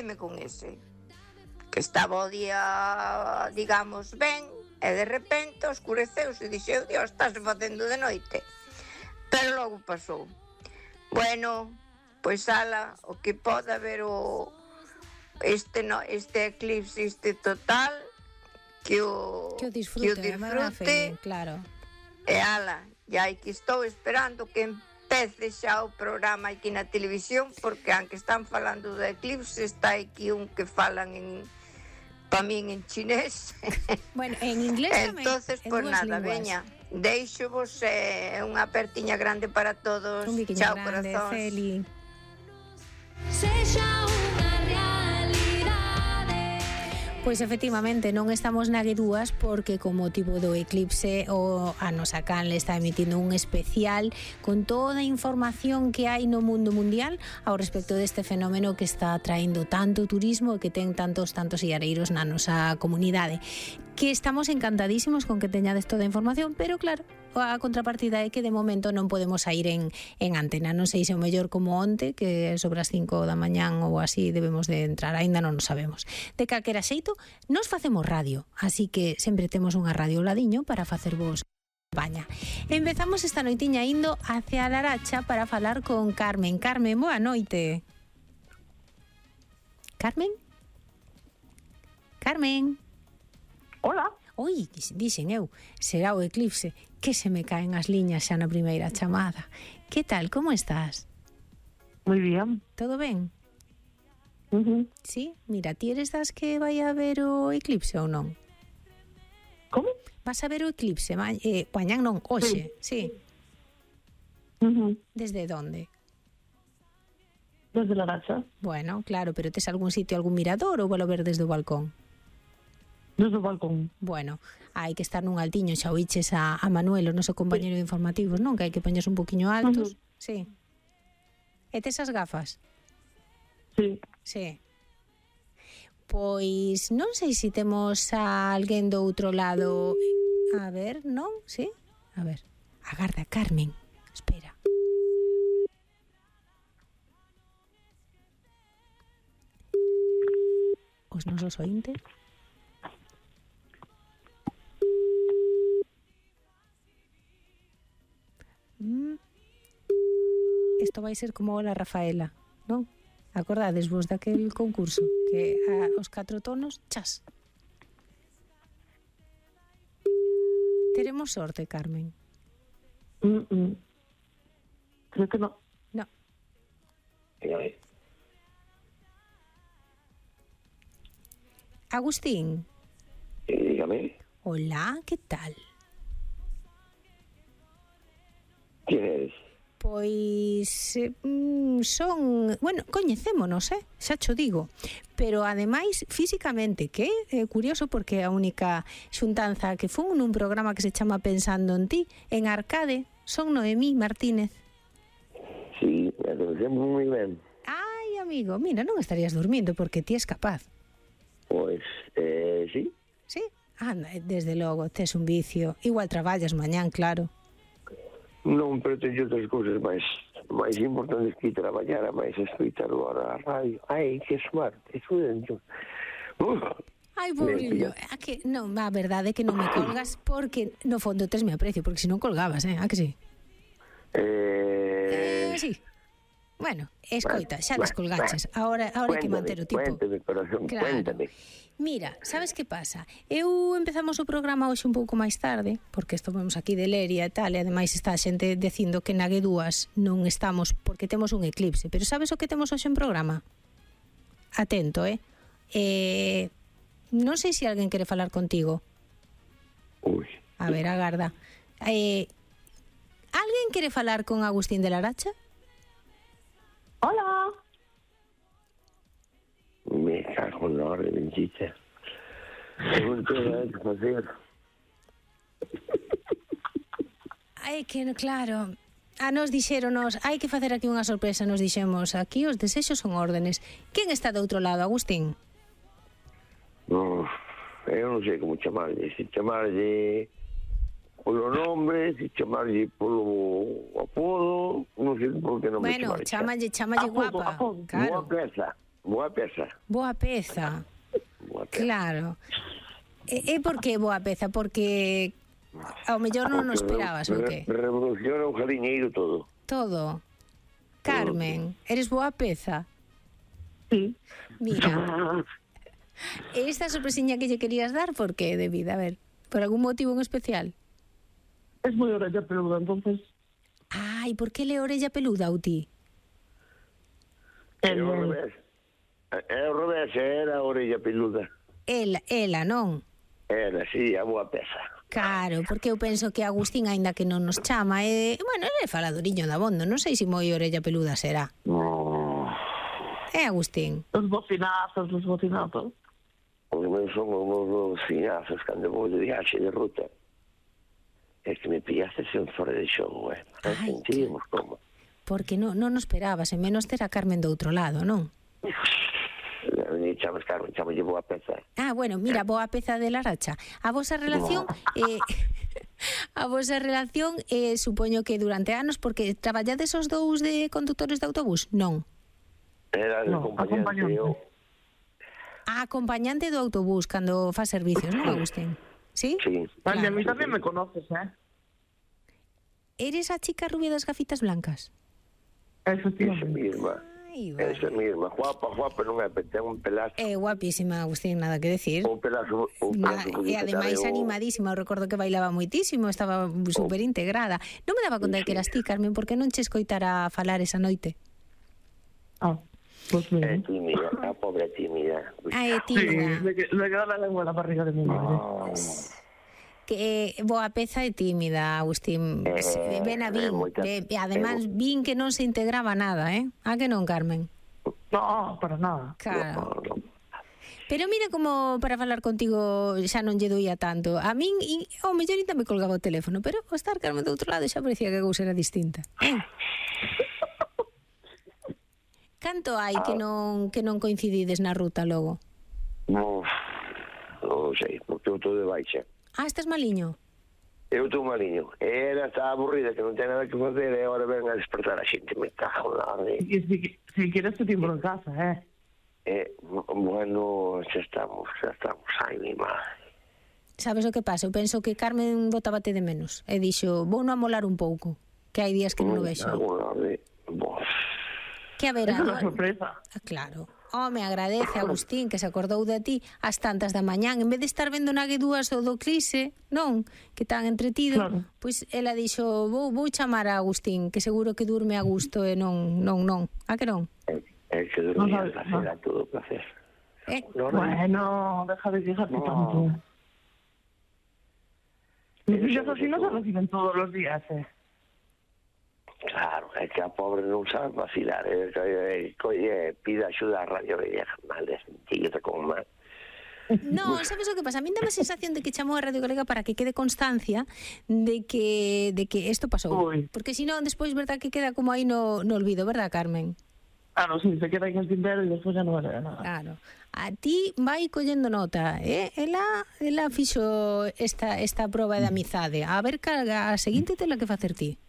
Asustei-me con ese. Que estaba o día, digamos, ben, e de repente oscureceuse e dixeu, Dios, estás facendo de noite. Pero logo pasou. Bueno, pois ala, o que pode haber este eclipse total, que o disfrute, claro. E ala, e que estou esperando que empece xa o programa aquí na televisión, porque aunque están falando do eclipse, está aquí un que falan para min en chinés. Bueno, en inglés tamén. Entonces, pues nada, veña, deixo-vos unha apertiña grande para todos. Un biquiño chao, grande, corazóns. Celi. Pois efectivamente non estamos na Guedúas porque con motivo do eclipse a nosa canle está emitindo un especial con toda a información que hai no mundo mundial ao respecto deste fenómeno que está atraendo tanto turismo e que ten tantos iareiros na nosa comunidade. Que estamos encantadísimos con que teñades toda a información, pero claro, a contrapartida é que de momento non podemos sair en antena. Non sei se o mellor como onte, que sobre as 5 da mañán ou así debemos de entrar, aínda non o sabemos. De calquera xeito, nos facemos radio, así que sempre temos unha radio ao ladiño para facervos compañía. Empezamos esta noitiña indo hacia a Laracha para falar con Carmen. Carmen, boa noite. Carmen? Carmen? Hola. Oi, dixen eu, será o eclipse, que se me caen as liñas xa na primeira chamada. Que tal, como estás? Moi bien. Todo ben? Sí, mira, ti eres das que vai a ver o eclipse ou non? Como? Vas a ver o eclipse, mañán non, hoxe, sí. Desde onde? Desde Laracha. Bueno, claro, pero tes algún sitio, algún mirador ou valo ver desde o balcón? Desde o balcón. Bueno, hai que estar nun altiño, xa oiches a Manuel, o noso compañero de informativos, non? Que hai que poñerse un poquinho altos. Sí. E tes as gafas? Sí. Sí. Pois non sei se temos a alguén do outro lado. A ver, non? Sí? A ver. Agarda, Carmen. Espera. Os nosos ointes. Isto vai ser como la Rafaela, non? Acordades vos daquel concurso que os 4 tonos, chas. Teremos sorte, Carmen. Creo que no. No. Agustín. Dígame. Hola, ¿qué tal? ¿Quién eres? Pois son, bueno, coñecémonos, xa cho digo, pero ademais físicamente, que é curioso porque a única xuntanza que fun nun programa que se chama Pensando en ti, en Arcade, son Noemí Martínez. Sí, me conocemos moi ben. Ai, amigo, mira, non estarías dormindo porque ti és capaz. Pois, sí. Sí? Anda, desde logo, tes un vicio. Igual traballas mañán, claro. Non, pero teño outras cousas máis importantes que traballar, máis escoitar agora a radio. Ai, que suerte, dentro. Ai, pobrillo, a que non, a verdade é que non me colgas porque no fondo tesme aprecio, porque se non colgabas, a que sí? Sí. Bueno, escoita, xa descolgaches. Ahora hai que manter o tipo. Cuéntame, corazón, claro. Cuéntame. Mira, sabes que pasa? Eu empezamos o programa hoxe un pouco máis tarde, porque estamos aquí de Leria e tal, e ademais está a xente dicindo que na Guedúas non estamos porque temos un eclipse. Pero sabes o que temos hoxe en programa? Atento, non sei se alguén quere falar contigo. Ui. A ver, agarda. Alguén quere falar con Agustín de Laracha? Hola. Me cago en la hora de bendicha. Non tengo nada que facer. Ai, que claro. A nos dixéronos, hai que facer aquí unha sorpresa, nos dixemos, aquí os desexos son órdenes. Quen está do outro lado, Agustín? Eu non sei como chamarlle, se chamarlle polo nombre, se chamarlle polo apodo, non sei por que non me chamarlle. Bueno, chamalle guapa. Claro. Guapeza. Boa peza. Boa peza. Boa peza. Claro. E por que boa peza? Porque ao mellor non o esperabas, ou que? Revoluciona o jaliñeiro todo. Todo. Carmen, eres boa peza? Sí. Mira, esta sorpresiña que lle querías dar, por que de vida? A ver, por algún motivo en especial? Es muy orella peluda, entonces... Ai, por que le orella peluda ou ti? É ao revés. É ao revés, era a orella peluda. Ela, non? Era, sí, a boa peza. Claro, porque eu penso que Agustín, aínda que non nos chama, bueno, ele é faladoriño da bondo, non sei se moi orella peluda será. Agustín? Los bocinazos. Os meus son os cinazos cando vou de viaxe de ruta. É que me pillaste sen fora de xogo, Non Ai, sentíamos como. Porque non nos esperabas, en menos ter a Carmen do outro lado, non? Ni chamas Carmen, chamo lle boa peza. Ah, bueno, mira, boa peza de Laracha. A vosa relación... a vosa relación, supoño que durante anos, porque traballades os dous de conductores de autobús? Non. Era de acompañante. A acompañante do autobús cando fa servicios, non, Agustín? ¿Sí? Sí. Vale, a mí también me conoces, Eres a chica rubia das gafitas blancas? Efectivamente. Esa misma. Ai, vale. Esa misma. Guapa, non é, ten un pelazo. Guapísima, Agustín, nada que decir. Un pelazo E ademais animadísima, eu recordo que bailaba moitísimo, estaba super integrada. Non me daba conta de que eras ti, Carmen, porque non che escoitara falar esa noite. Pues É bien. tímida, a pobre tímida. É Sí, tímida. le queda la lengua en la barriga de mi madre. Que boa peza e tímida, Agustín. Ben a vin. E además vin que non se integraba nada, A que non, Carmen? No, para nada. Claro. Pero mira como para falar contigo xa non lle doía tanto. A min, ao mellor ainda me colgaba o teléfono, pero o estar Carmen do outro lado xa parecía que a cousa era distinta. Canto hai que non coincidides na ruta logo? Non sei, porque eu estou de baixa. Ah, estás maliño? Eu estou maliño. Era, está aburrida, que non ten nada que facer, e agora ven a despertar a xente. Me cago na de... Y si quieres te timbro en casa, Bueno, xa estamos. Ai, mi madre. Sabes o que pasa? Eu penso que Carmen botábate de menos. E dixo, vou non amolar un pouco, que hai días que non o vexo. Que a ver, es una sorpresa. Claro. Me agradece, Agustín, que se acordou de ti ás tantas da mañán. En vez de estar vendo na G2 o do Clise, non? Que tan entretido. Claro. Pois ela dixo, vou chamar a Agustín, que seguro que durme a gusto e non. A que non? É que dormía a placer, a todo placer. Bueno, deja de quejarte tanto. Mis hijas así no se reciben todos los días, Claro, é que a pobre non sabe vacilar, pide axuda a Radio Galega, mal de sentido, como mal. No, sabes o que pasa? A mí dá a sensación de que chamou a Radio Galega para que quede constancia de que isto pasou. Porque si non, despois, verdad, que queda como aí no olvido, verdad, Carmen? Claro, sí, se queda en el tintero y después ya no vale de nada. Claro. A ti vai collendo nota, Ela fixo esta proba de amizade. A ver, a seguinte tela que facer ti.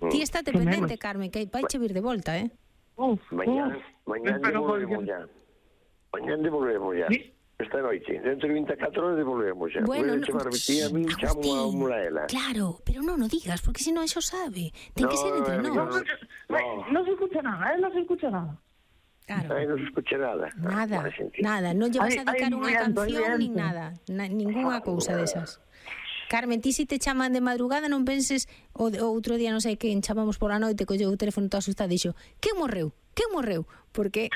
Ti estate pendente, Carmen, que vai che vir de volta, Mañán devolvemos ya. Mañán devolvemos ya. Esta noite, dentro de 24 horas devolvemos ya. Bueno, Agustín, chamo a Mulaela. Claro, pero non o digas, porque se non xo sabe. Ten que ser entre nós. No se escucha nada, no se escucha nada. Claro. Aí non se escucha nada. Nada, non lle vas a dedicar unha viento, canción nin viento. nada, ningunha cousa desas. Carmen, ti si te chaman de madrugada non penses o outro día non sei quen chamamos pola noite, colleu o teléfono todo asustado e dixo, que morreu? Porque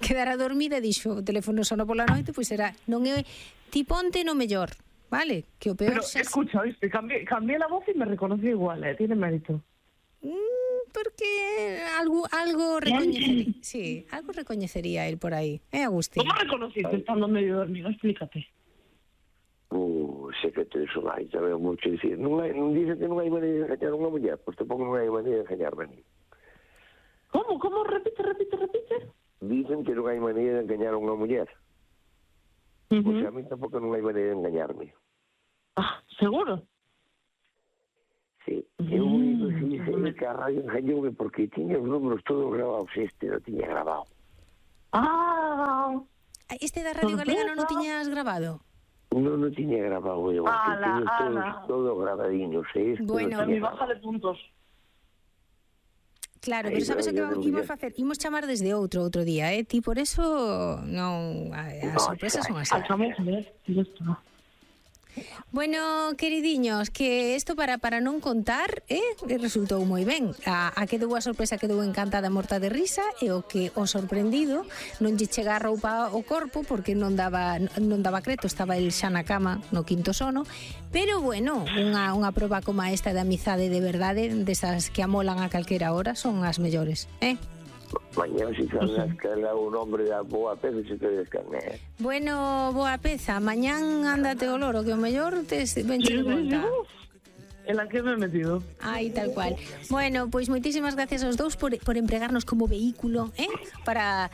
quedara dormida e dixo, o teléfono sono pola noite, pois era, non é, ti ponte no mellor, vale? Que o peor Pero xa... escucha, ¿viste? Cambié la voz y me reconocí igual, tiene mérito. Porque algo recoñecería, sí, algo recoñecería él por aí, Agustín? ¿Cómo reconociste estando medio dormido? Explícate. Sei que te iso vai, xa veo moito dicir. Non dice que non hai maneira de engañar unha muller, pois tampouco non hai maneira de engañarme a mí. ¿Cómo? Repite. Dicen que non hai maneira de engañar unha muller. Pois a mí tampouco non hai maneira de engañarme. ¿Seguro? Sí, eu único que a radio engañoume porque tiña os números todos grabados, non tiña grabado. Ah, Este da Radio Galega non o tiñas grabado? Non o tiña grabado eu, Ala, tiño ala. todo grabadiño, Bueno, a mi baja de puntos. Claro, Aí, pero sabes o que pero imos ya. facer? Imos chamar desde outro día, Ti por eso non... As sorpresas son así. Alzamos, ¿ves? Ya está. Bueno, queridiños, que isto para non contar, resultou moi ben. A quedou a sorpresa, quedou encantada morta de risa, e o que o sorprendido non lle chega a roupa ao corpo porque non daba creto, estaba el xa na cama no quinto sono, pero bueno, unha proba como esta de amizade de verdade, desas que amolan a calquera hora, son as mellores, Mañana si salgas que era un hombre da boa peza se te descarné. Bueno, boa peza, mañán ándate o loro, que o mellor te venche de volta. En la que me he metido. Ai, tal cual. Bueno, pois moitísimas gracias aos dous por empregarnos como vehículo, para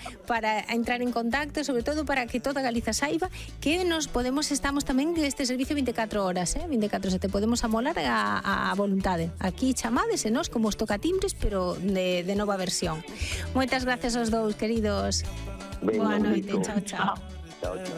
entrar en contacto, sobre todo para que toda Galiza saiba que estamos tamén este servicio 24 horas, 24/7, podemos amolar a voluntade. Aquí chamades e nós como os tocatimbres, pero de nova versión. Moitas gracias aos dous, queridos. Boa noite, chao, chao. Chao, chao.